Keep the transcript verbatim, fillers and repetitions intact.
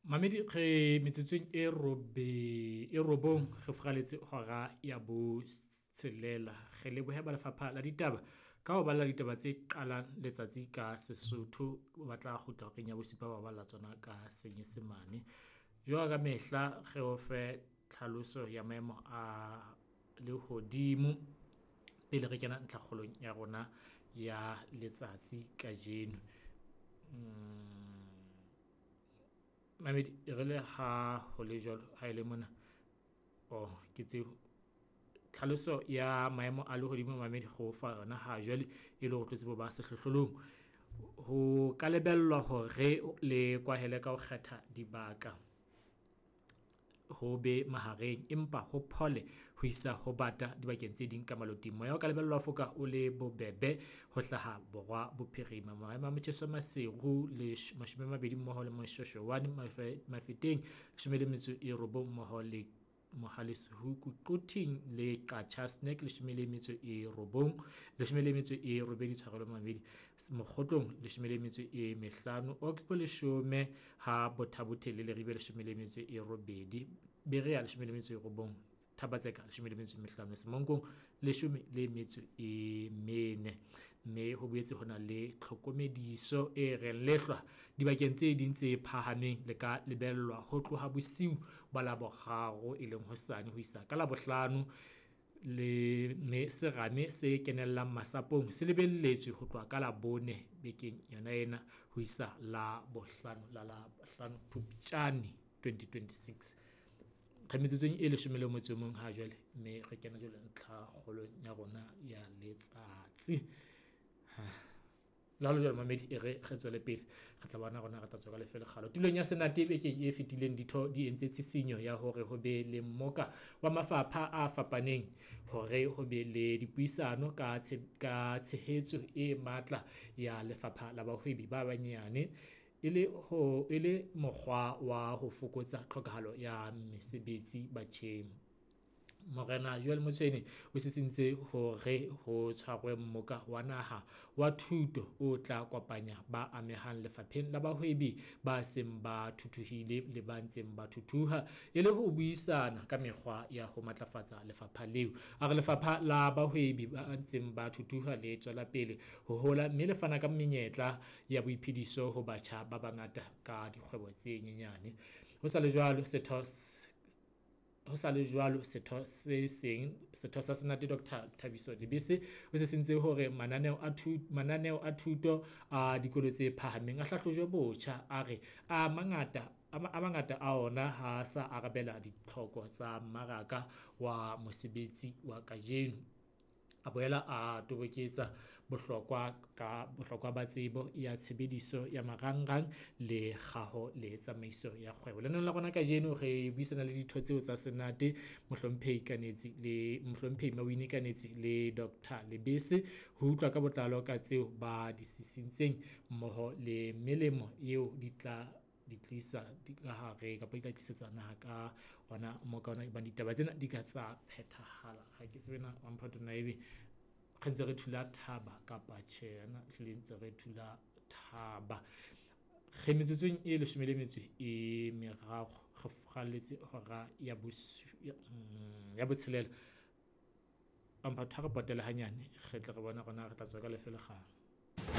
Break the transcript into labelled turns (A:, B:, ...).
A: Mamedi re metsotsong e robe e robong re furaletse hora ya botshelela. Re lebohe ba Lefapha la Ditaba ka ho balla ditaba tse qalang letsatsi ka Sesotho. Ba tla kgutla horeng ya bosupa ba balla tsona ka Senyesemane. Jwalo ka mehla re o fe tlhaloso ya maemo a lehodimo pele re kena ntlhakgolong ya rona ya letsatsi kajeno. Mamedi e re le ha ho le jwalo, ha e le mona oh ke tseo. Tlhaloso ya maemo a lehodimo mamedi re o fa yona ha jwale e le hore o tlo tsebe ho ba sehlohlolong. Ho ka lebellwa hore le kwahele ka ho kgetha dibaka ho be mahareng, empa ho phole ho isa ho bata dibakeng tse ding ka maloting. Moya o ka lebellwa ho foka o le bobebe ho hlaha borwa bophirima. Maemo a motjheso Maseru mashome a mabedi mmoho le Moshweshwe Mafeteng leshome le metso e robong mmoho le Mohale's Hoek, Quthing le Qacha's Nek leshome le metso e robong, leshome le metso e robedi tshwarelo mamedi. Mokgotlong leshome le metso e mehlano, Oxbow leshome ha Botha-Bothe le Leribe leshome le metso e robedi, Berea leshome le metso e robong, Thaba-Tseka leshome le metso e mehlano, Semonkong leshome le metso e mene. Mme ho boetse ho na le tlhokomediso e reng lehlwa dibakeng tse ding tse phahameng le ka lebellwa ho tloha bosiu ba Laboraro e leng hosane ho isa ka Labohlano le mme serame se kenellang masapong se lebelletswe ho tloha ka Labone bekeng yona ena ho isa Labohlano la Labohlano Phupjane twenty twenty-six. Re metsotsong e leshome le motso o mong ha jwale, mme re kena jwale ntlha kgolong ya rona ya letsatsi. Le ha ho le jwalo mamedi e re re tswele pele, re tla bona rona re tla tswa ka lefe lekgalo. Tulong ya Senate bekeng e fetileng ditho di entse tshisinyo ya hore ho be le mmoka wa mafapha a fapaneng hore ho be le dipuisano ka ka tshehetso e matla ya lefapha la bahwebi ba banyane e le ho e le mokgwa wa ho fokotsa tlhokahalo ya mesebetsi batjheng. Morena Joel Motshwene o sisintse hore ho tshwarwe mmoka wa naha wa thuto o tla kopanya ba amehang lefapheng la bahwebi ba seng ba thuthuhile le ba ntseng ba thuthuha e le ho buisana ka mekgwa ya ho matlafatsa lefapha leo. A re lefapha la bahwebi ba ntseng ba thuthuha le tswela pele ho hola mme le fana ka menyetla ya boiphediso ho batjha ba bangata ka dikgwebo tse nyenyane. Ho sa le jwalo setho ho sa le jwalo setho se seng setho sa Senate Doctor Thabiso Lebese o sisintse hore mananeo a thuto mananeo a thuto a dikolo tse phahameng a hlahlojwe botjha. A re a mangata a mangata a ona ha sa arabela ditlhoko tsa mmaraka wa mosebetsi wa kajeno. A boela a toboketsa bohlokwa ka bohlokwa ba tsebo ya tshebediso ya marangrang le kgaho le tsamaiso ya kgwebo. Lenaneo la rona kajeno re buisana le ditho tseo tsa Senate, Mohlomphehi Kanetsi le Mohlomphehi Mawini Kanetsi le Doctor Lebese ho utlwa ka botlalo ka tseo ba di sisintseng mmoho le melemo eo di tla di tlisa di ka hare kapa di tla tlisetsa naha ka ona mmoka ona ebang ditaba tsena di ka tsa phethahala. Ha ke tsebe na Mamphato na ebe re ntse re thula thaba kapa tjhe, ana ehlile ntse re thula thaba. Re metsotsong e leshome le metso e meraro re furaletse hora ya ya botshelela. Mamphato ha re potele hanyane re tle re bone hore na re tla tswa ka lefe lekgalo.